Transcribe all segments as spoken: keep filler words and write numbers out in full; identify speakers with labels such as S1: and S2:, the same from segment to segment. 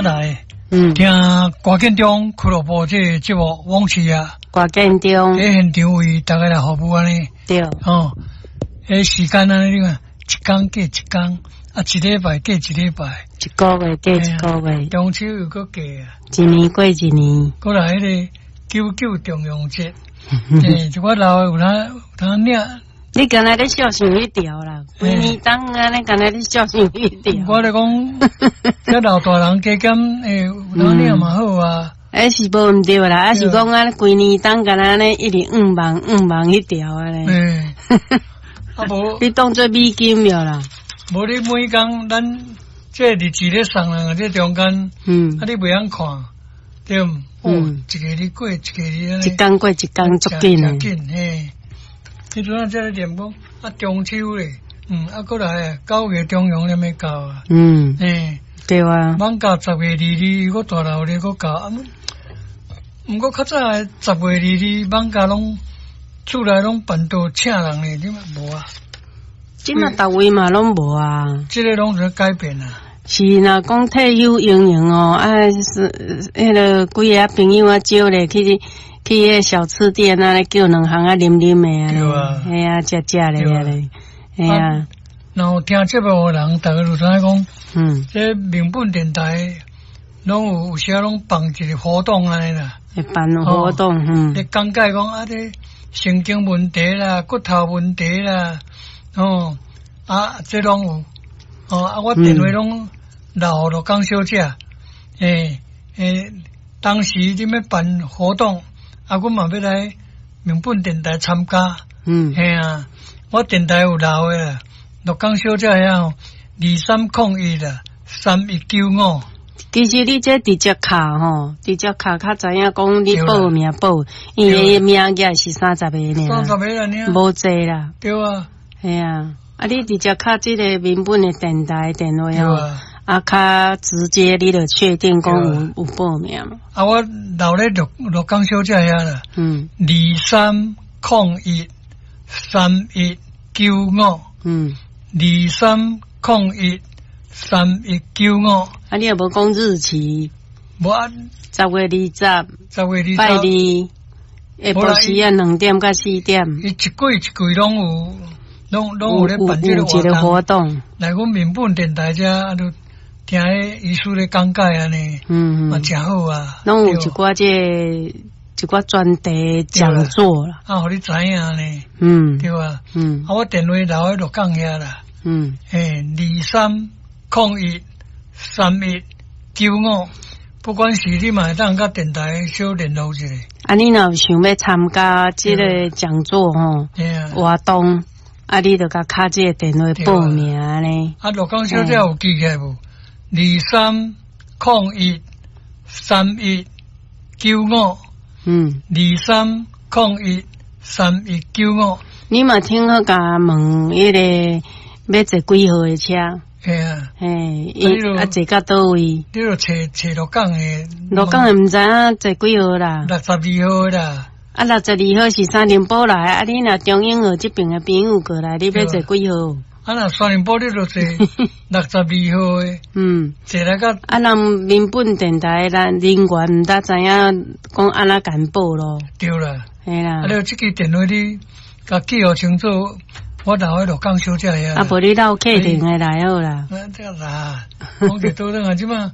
S1: 咱來
S2: 嗯，
S1: 聽歌建中俱樂部這個節目往事啊，
S2: 歌建中，
S1: 佇現場為大家來服務按呢。
S2: 對，
S1: 哦，彼時間按呢，你看一工過一工，啊，一禮拜過一禮拜，
S2: 一個月過一個月，
S1: 中秋又閣過啊，
S2: 一年過一年。
S1: 閣來彼個九九重陽節，欸，一寡老的有通有通領。
S2: 你敢若咧笑想彼條啦，規年冬按呢敢若咧笑想彼條。
S1: 我咧講，這老大人加減欸，有通領嘛好啊。
S2: 欸是無毋對啦，啊是講按呢規年冬敢若按呢一直向望向望彼條按呢。
S1: 欸，啊無，
S2: 你當做美金了啦。
S1: 無你每工咱這日子咧送人這中間，
S2: 嗯，
S1: 啊你袂曉看，對毋？哦，一個日過一個日，
S2: 一工過一工足緊的。
S1: 緊嘿。彼陣啊，這咧念講啊，中秋咧，嗯，啊，閣來九月重陽咧欲到啊，
S2: 嗯，
S1: 嘿，
S2: 對啊，
S1: 艋舺十月二二，閣大鬧熱閣到，啊，毋過較早的十月二二，艋舺攏厝內攏辦桌請人咧，你嘛無啊？
S2: 這馬逐位嘛攏無啊，
S1: 這個攏是改變啊。
S2: 是若講退休營營哦，啊是彼个幾个朋友啊招咧去。去彼个小吃店啊，叫兩項啊，啉啉的啊，
S1: 對啊，
S2: 嘿啊，食食咧啊咧，嘿啊。
S1: 然後聽節目的人，逐家就知影講，
S2: 嗯，
S1: 這民本電台攏有有時攏辦一個活動按呢啦，
S2: 會辦活動，嗯，
S1: 咧講解講啊，這神經問題啦，骨頭問題啦，哦，啊，這攏有，哦，啊，我電話攏留予鹿港小姐，欸欸，當時你欲辦活動。啊，阮嘛欲來民本電台參加，
S2: 嗯，
S1: 嘿啊，我電台有留的啦，鹿港小姐遐二三空一啦，三一九五。
S2: 其實你這直接敲吼，直接敲較知影講你報名報，因為名額是三十個爾，
S1: 三十個爾，
S2: 無濟啦。
S1: 對啊，
S2: 嘿啊，啊你直接敲這個民本的電台電話吼。啊，較直接你就確定講有有報名嘛？
S1: 啊，我留咧鹿鹿港小姐遐啦。
S2: 嗯。
S1: 二三空一三一九五。
S2: 嗯。
S1: 二三空一三一九五。
S2: 啊，你也無講日期？
S1: 無啊。
S2: 十月二十。
S1: 十月二十。
S2: 拜二，下晡時啊，兩點到四點。
S1: 伊一季一季攏有，攏攏有咧辦這個
S2: 活動。
S1: 來，阮民本電台遮啊，都聽彼醫師咧講解按呢，
S2: 嗯，
S1: 嘛誠好啊。
S2: 攏有一寡這一寡專題講座啦。
S1: 啊，予你知影呢。
S2: 嗯，
S1: 對啊。
S2: 嗯。
S1: 啊，我電話留佇鹿港遐啦。
S2: 嗯。
S1: 欸，二三空一三一九五，不管是你嘛會當佮電台小聯絡一下。
S2: 啊，你若有想欲參加這個講座吼，活動，啊，你就共敲這個電話報名呢。
S1: 啊，鹿港小姐有記起來無？二三空一三一九五，
S2: 嗯，
S1: 二三空一三一九五。
S2: 你嘛聽好，共問彼個欲坐幾號的車？
S1: 嘿啊，
S2: 嘿，啊坐到佗位？
S1: 你著揣揣鹿港的，
S2: 鹿港的毋知影坐幾號啦？
S1: 六十二號啦。
S2: 啊，六十二號是三重埔來，啊，你若中英號這爿的朋友過來，你欲坐幾號？
S1: 啊，若三重埔你就坐六十二號的，
S2: 嗯，
S1: 坐來到
S2: 啊，咱民本電台咱人員毋知知影講按怎共報咯？
S1: 對啦，
S2: 嘿啦。
S1: 啊，你這支電話你共記予清楚，我留佇鹿港小姐遐。
S2: 啊，無你留客廳的來好啦。
S1: 啊，這啦，講一倒轉啊，這馬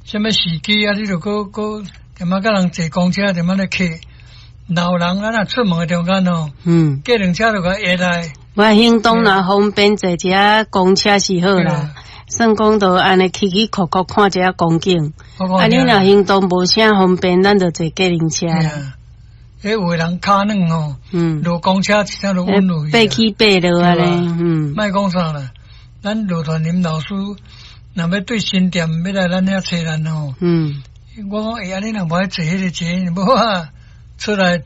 S1: 啥物時機啊？你著閣閣踮仔佮人坐公車，踮仔咧客老人，咱若出門的中間哦，
S2: 嗯，
S1: 計程車就共壓來。
S2: 我行動若方便，坐一下公車是好啦。算講就按呢起起伏伏看一下風景。啊，你若行動無啥方便，咱就坐計程車啦。
S1: 彼有的人跤軟吼，
S2: 嗯，
S1: 落公車一聲就穩落去。
S2: 爬起爬落按呢，嗯。
S1: 莫講啥啦，咱羅傳林老師若欲對新店欲來咱遐揣咱吼，
S2: 嗯，
S1: 我講欸，按呢若無愛坐彼個車，無啊，出來手。